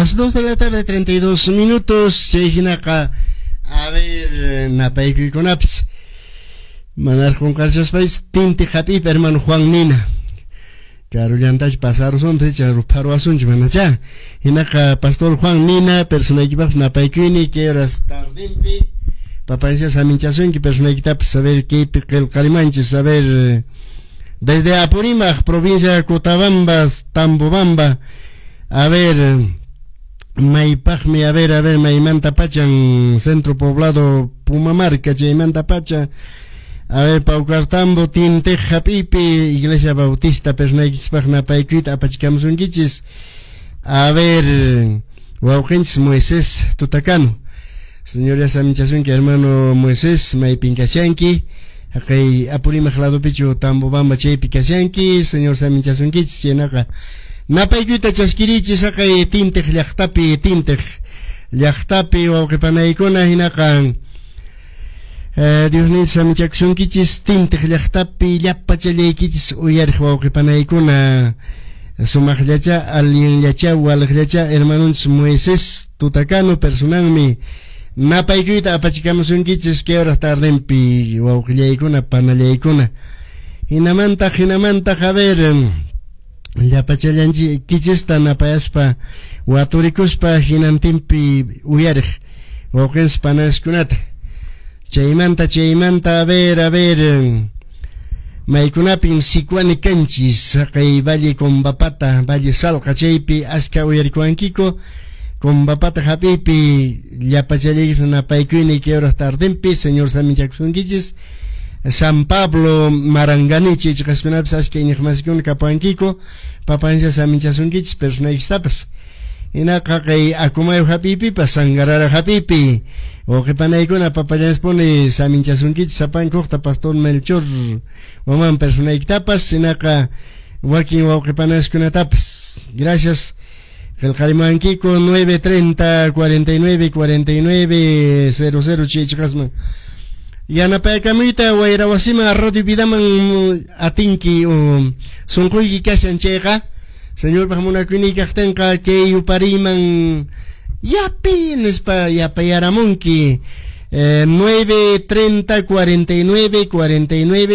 Las 2 de la tarde, 32 minutos. Chay hinaqa, a ver, napaykuykunapis. Manaraq qunqarchaspaysi Tinti hap'iypi hermano Juan Nina. Karullantachu pasarusunpis icha rupharuwasunchu manachá. Hinaqa pastor Juan Nina personaykipaqpis napaykuyni kay horas tardinpi papancha saminchasunki personaykitapas a ver kaypi qillqarimanchis a ver desde Apurímac provincia de Cotabambas Tambobamba a ver maypaqmi a ver maymanta pachan centro poblado Pumamarca chaymanta pacha a ver Paucartambo Tintiq hap'iypi Iglesia Bautista personaykichispaq napaykuyta apachikamusunkichis a ver wawqinchis Moisés Tutacano Señor ya saminchasunki hermano Moisés maypin kashanki haqay Apurímac ladopichu Tambobamba chaypi kashanki Señor saminchasunkichis chaynaqa napaykuyta chaskirichis haqay Tintiq llaqtapi Tintiq llaqtapi wawqipanaykuna hinaqa Diosninchis saminchakusunkichis Tintiq llaqtapi llapachallaykichis uyariq wawqipanaykuna sumaqllacha allinllacha waliqllacha hermanonchis Moisés Tutacano personanmi napaykuyta apachikamusunkichis kay hora tardenpi wawqillaykuna panallaykuna hinamantaq hinamantaq a ver llapachallankichista napayaspa waturikuspa hinantinpi uyariq wawqinchis panaskunata chaymanta chaymanta a ver maykunapin Sicuani kanchis haqay Valle Combapata Valle Salqa chaypi aska uyarikuwankiku Combapata hap'iypi llapachallaykichis napaykuyni kay hora tardenpi Señor saminchakusunkichis San Pablo Marangani chaychiqaskunapis aska iñiqmasikuna kapuwankiku papancha saminchasunkichis personaykistapas hinaqa kay Acomayo hap'iypipas Sangarara hap'iypi wawqipanaykuna papallanspuni saminchasunkichis sapankuqta pastor Melchor waman personaykitapas hinaqa wakin wawqipanaskunatapas gracias qillqarimuwankiku 930 49 49 00 chaychiqasman yanapaykamuyta wayra wasiman Radio Vidaman atinki sunquyki kashan chayqa Señorpaq munakuyniyki kaqtinqa kay yupariyman yapi nispa yapayaramunki 9 30 49 49.